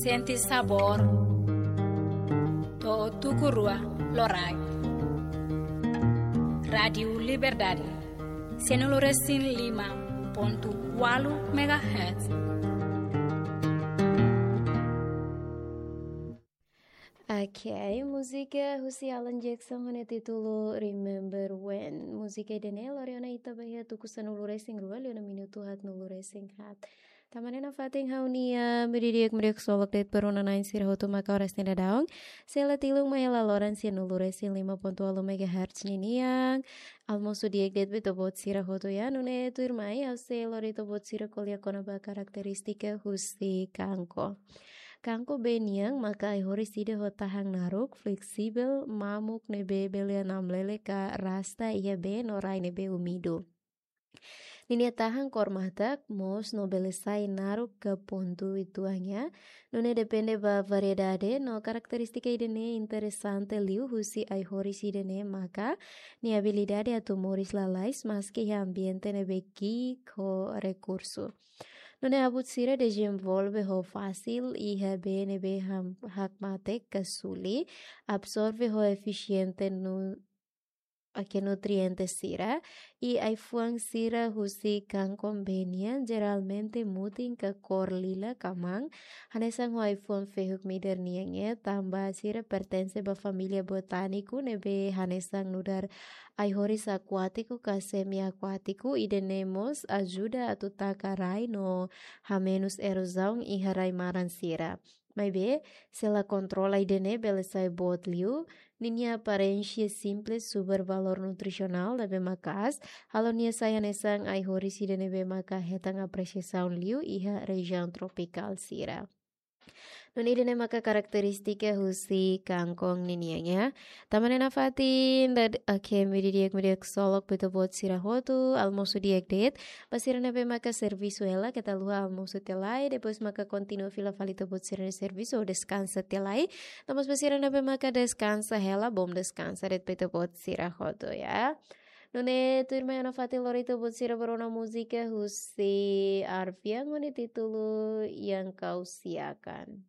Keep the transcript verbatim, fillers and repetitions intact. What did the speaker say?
Sente sabór. To'o tuku rua loraik. Rádiu Liberdade. Sanulu resin lima pontu ualu megahertz. Ok, múzika husi Alan Jackson ho nia títulu Remember When. Múzika ida-ne'e lori ona ita ba iha tuku sanulu resin rua liu ona minutu haatnulu resin haat. Tanba ne'e nafatin ha'u-nia meiudia di'ak, meiudia ksolok de'it ba rona-na'in sira hotu maka oras ne'e daudaun. Sei la tilun mai hela loron sanulu resin lima pontu ualu megahertz ninian. Almosu di'ak de'it ba ita-boot sira hotu ya, nune'e tuirmai ha'u sei lori ita-boot sira ko'alia kona-ba karakterístika husi kangkong. Kangkong bee nian maka ai-horis ida ho tahan naruk, fleksibel, mamuk ne'ebé bele hamlele ka rasta iha bee no rai ne'ebé úmidu. Ninia tahan kór matak, moos no bele sai naruk ka pontu uitoan ya. Nune'e depende ba variedade no karakterístika ida-ne'e interesante liu husi ai-horis ida-ne'e maka nia abilidade atu moris lalais maski iha ambiente ne'ebé ki'ik ho rekursu. Nune'e abut sira dezenvolve ho fasil iha bee ne'ebé ham-, hakmatek ka suli, absorve ho efisiente nu-, ake nutriente sira, i ai-fuan sira husi kangkong bee nian jeralmente mutin ka kór lila ka man, hanesan ho ai-fuan fehuk midar nian ya, tanba sira pertense ba família botániku ne'ebé hanesan nu'udar ai-horis akuátiku ka semi-akuátiku, ida-ne'e mós ajuda atu taka rai no hamenus erozaun iha rai-maran sira. Maibé, se la kontrola ida-ne'e bele sai boot liu, ninia aparénsia simples, subar valór nutrisionál ne'ebé maka'as, halo nia sai hanesan ai-horis ida ne'ebé maka hetan apresiasaun liu iha rejiaun tropikál sira. Nune'e ida-ne'e maka karakterístika husi kangkong ninian ya. Tanba ne'e nafatin, dada, ok, meiudia di'ak, meiudia ksolok ba ita-boot sira hotu, almosu di'ak de'it. Ba sira ne'ebé maka servisu hela, keta haluha almosu tiha lai, depois maka kontinua fila fali ita-boot sira-nia servisu ou deskansa tiha lai. No mós ba sira ne'ebé maka deskansa hela, bom deskansa de'it ba ita-boot sira hotu ya. Nune'e tuirmai ha'u nafatin lori ita-boot sira ba rona múzika husi Arfian ho nia títulu Yang Kau Siakan.